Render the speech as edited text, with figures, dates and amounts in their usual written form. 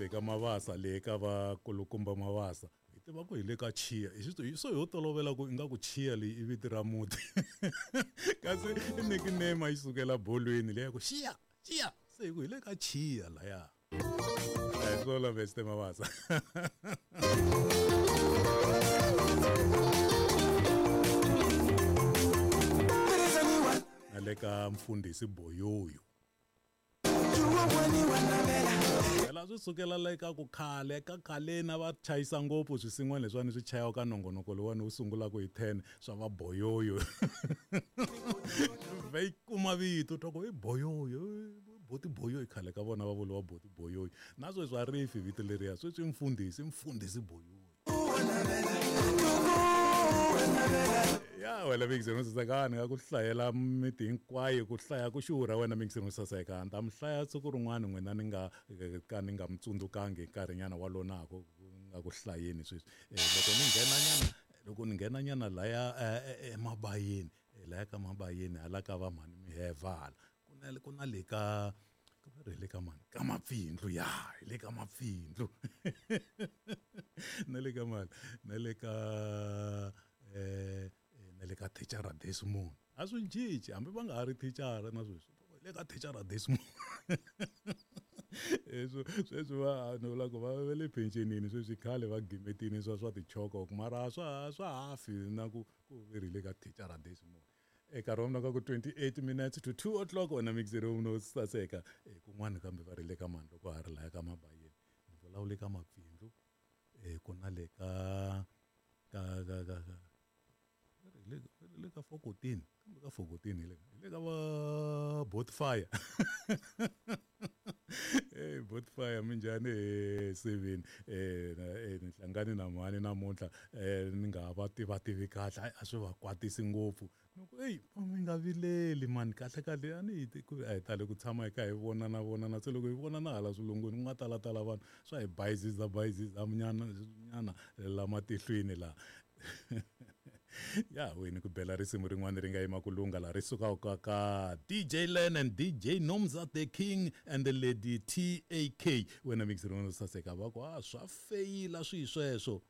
le ka Mavasa le ka vakulukumba Mavasa hi tiva ku hi le ka Chiya hi so ho tolovela ku ingaku Chiya leyi i vito ra muti kasi i nickname a yi sukela bolweni leya ku Xiya Chiya se hi ku hi le ka Chiya laya a hi swona Mr Mavasa. Na le ka mfundhisi Boyoyo. Phela swi sukela le ka ku khale ka khaleni a va chayisa ngopfu swisin'wana leswiwani swi chayiwa ka nongonoko lowuwani wu sungulaka hi 10 swa va boyoyo vhe yi kuma vito twa ku i boyoyo boti boyoyo khale ka vona va vuriwa boti boyoyo na sweswi a ri fi vito leriya sweswi i mfundhisi mfundhisi boyoyo ya wena mingiseni wo saseka ni nga ku hlayela miti hinkwayo ku hlaya ku xurha wena mingiseni wo saseka ni ta mi hlaya siku rin'wana n'wina ni nga ka ni nga mi tsundzukangi hi nkarhinyana walonaku nga ku hlayeni sweswi loko ni nghena nyana loko ni nghena nyana laya emabayeni laya ka mabayeni hala ka va mhani miheva hala ku na ku na le ka va ri hi le ka mani ka mapfindlu ya hi le ka mapfindlu na le ka mani na le ka na le ka thicara Desmond a swi cinci hambi va nga ha ri thicara na sweswi hi le ka thicara Desmond sweswi sweswi va ni vula ku va va le phenxenini sweswi khale va gimetini swa swa tichoko mara a swa ha swa ha fi na ku ku ve ri le ka thicara Desmond. Nkarhi wa mina ka ku 28 minutes to 2 o'clock wena mixer no saseka eh, kun'wana kambe va ri le ka mani loko ha ri laya ka mabayeni ni vulavule ka mapfindlu eh, ku na le ka ka ka ka ka le le ka fokotini kambe ka fokotini hi le hi le ka va bot fire hey bot fire minjhani he seveni eh ni hlangane na mhani namuntlha eh ni nga va tiva tivi kahle a swi va kwatisi ngopfu ni ku eyi mi nga vileli mani kahle kahle a ni hi ku a hi tali ku tshama hi kha hi vonana vonana se loko hi vonana hala swilungwini ku nga talatala vanhu swa hi bayiziza bayiziza nyana nyana la matihlweni laha ya wena ku bela risimu rin'wana ri nga yima ku lungha laha ri sukaka ka DJ Len and DJ Nomza the King and the Lady TAK wena mix rin'wana saseka va ku a swa feyila swi sweswo.